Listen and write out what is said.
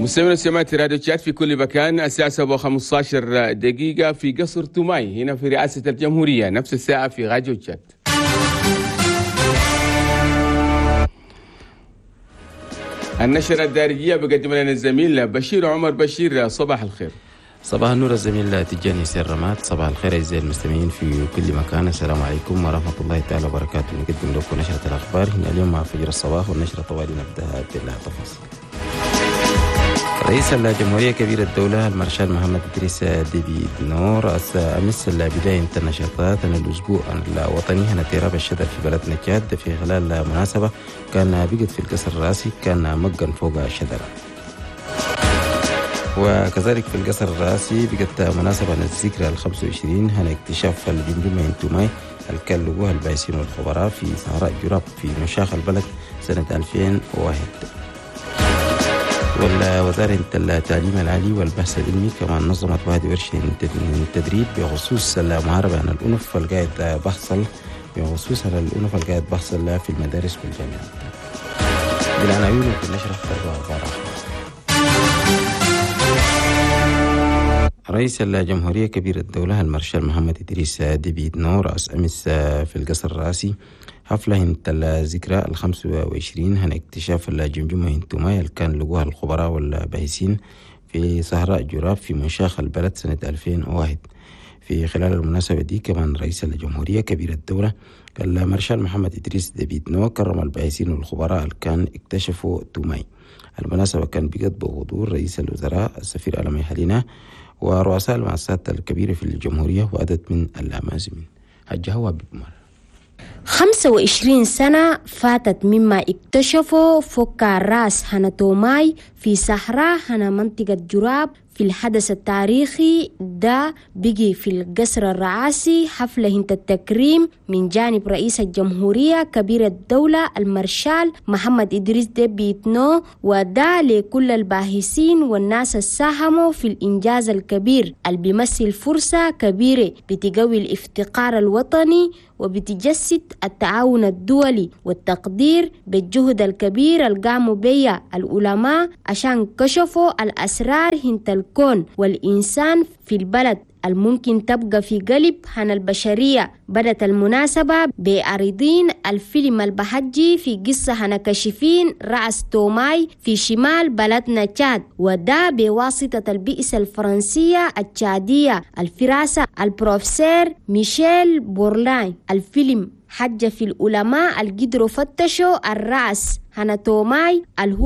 مستمعينا ومستمعات راديو تشاد في كل مكان، الساعة 7:15 في قصر توماي هنا في رئاسة الجمهورية، نفس الساعة في راديو تشاد. النشرة الدارجية بقدم لنا الزميل بشير عمر. بشير، صباح الخير. صباح النور الزميل تجاني سير رماد. صباح الخير أعزائي المستمعين في كل مكان، السلام عليكم ورحمة الله تعالى وبركاته. نقدم لكم نشرة الأخبار هنا اليوم مع فجر الصباح، والنشرة طوالي نبدأها بالتفاصيل. رئيس الجمهورية كبير الدولة المارشال محمد إدريس ديبي إتنو رأس أمس بداية النشاطات الأسبوع الوطني هنا تيراب الشتاء في بلدنا تشاد. في خلال مناسبة كان بقت في القصر الرئاسي كان مجن فوق الشجرة، وكذلك في القصر الرئاسي بقت مناسبة الذكرى 25 هنا اكتشاف الجمجمة توماي الكلوه البايسين والخبراء في صحراء جراب في مشاخ البلد سنة 2001. والوزارة التعليم العالي والبحث العلمي كمان نظمت واحد ورشة تدريب بخصوص المحاربة عن الأنف القاعد بحصل بخصوص الأنف القاعد بحصل في المدارس والجامعات. بالعناوين في النشرة أخبار. رئيس الجمهورية كبير الدولة المارشال محمد إدريس ديبي إتنو رأس أمس في القصر الرئاسي حفلة الذكرى 25 هن اكتشاف الجمجمة توماي اللي كان لقوها الخبراء والباحثين في صحراء جراب في منشاخ البلد سنة 2001. في خلال المناسبة دي كمان رئيس الجمهورية كبير الدولة المارشال محمد إدريس ديبي إتنو كرم الباحثين والخبراء اللي كان اكتشفوا توماي. المناسبة كان بقت بحضور رئيس الوزراء السفير ألمي حلينا ورؤساء المؤسسات الكبيرة في الجمهورية وعدد من الأمازمين. حجة هو بمر 25 سنة فاتت مما اكتشفوا فك الراس هنا توماي في صحراء هنا منطقة جراب. في الحدث التاريخي ده بقي في القصر الرئاسي حفلة هنت التكريم من جانب رئيس الجمهورية كبير الدولة المارشال محمد إدريس ديبي إتنو، وده لكل الباحثين والناس الساهموا في الإنجاز الكبير اللي بيمثل فرصة كبيرة بتقوي الافتقار الوطني وبتجسد التعاون الدولي والتقدير بالجهد الكبير اللي قاموا بيه العلماء عشان كشفوا الأسرار هنت الكون والإنسان في البلد الممكن تبقى في قلب هن البشرية. بدت المناسبة بعرضين الفيلم البحجي في قصة هنا كشفين رأس توماي في شمال بلدنا تشاد، وده بواسطة البئسة الفرنسية التشادية الفراسة البروفيسور ميشيل بورلاين. الفيلم حج في العلماء القدروا فتشوا الرأس هنا توماي اللي هو